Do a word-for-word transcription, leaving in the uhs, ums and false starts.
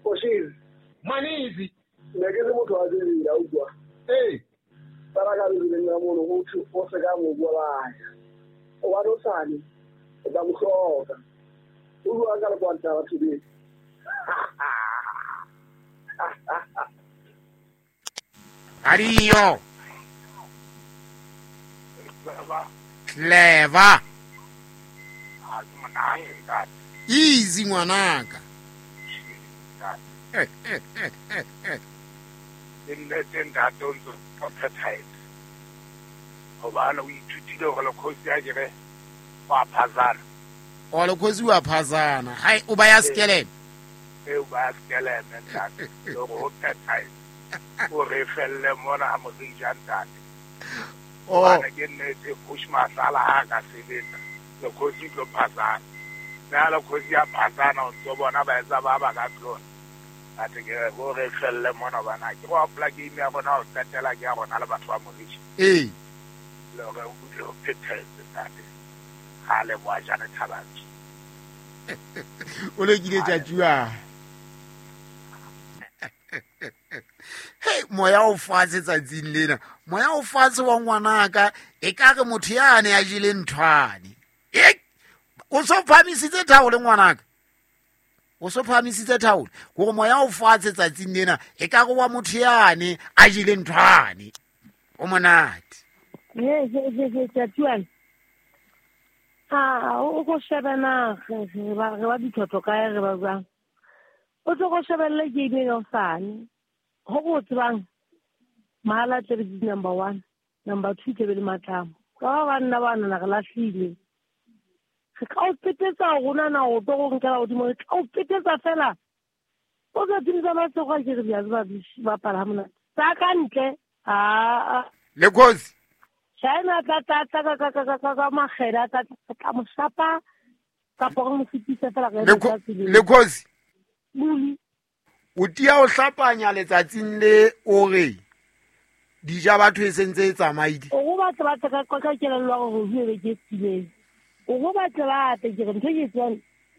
Oshiri. Manizi. Ne ke le motho wa tsela utlwa. Eh. Tsara ka le nna mono go thu o se ka mo bolaya. O wa dosane. O tla mo hloka. O bua ka le kwanta batho be. Adio. Clever. Easy ngwanaka. Eh eh eh eh eh. Nnete ntate o ntso o phethahetse. Hobane o ithutile hore lekgosi a kere wa phazana. O lekgosi wa phazana. Hai o ba ya skeleme. E o ba ya skeleme ntate. Le hore o phethahetse. O re felle mona ha morija ntate. Hobane ke nnete Kgosi Matlala ha ka sebetsa. Lekgosi tlo phazana. Nna lekgosi ya phazana o ntso bona ba etsa ba ba ka tlona. Ate ke go re felle mona bana ke go apply game ya rona o qetela ke ya rona le batho ba Morija. Eh. Le hore o butle o phethetse ntate. Ha le boa jana thabatsi. O le kile tsa tjua. Hey moya o fatshe tsatsing lena. Moya o fatshe wa ngwanaka e ka re motho ya ne a jele nthwane. E o so phamisitse thaole ngwanaka. O so phamisitse thaole gore moya o fatshe tsatsing lena e ka go wa motho yane a jele nthwane. O monate. Ye ye ye ye tjatuan. Ah o go shebana re ba re ba dithotho kae re ba jwang. O tlo go shebella game ya sane. Ho go tsebang mahala tle be number one, number two tle be le matlamo. Ka ba nna ba nna re lahlile. Re ka o petetsa rona na o tlo go nkela godimo re ka o petetsa fela. O tla timisa matsogo a ke re bja ba bapala ha monate. Tsa ka ntle a le khosi. China tla tla tla ka ka ka ka ka magela tla tla mo shapa ka pore mo fitisa fela re le khosi. Muli o tia o hlapanya letsatsing le o re dija batho e sentse e tsamaile. O go batla batla ka ka kelello gore ho be ke tsile. O go batla batla ke re ntho ke tsang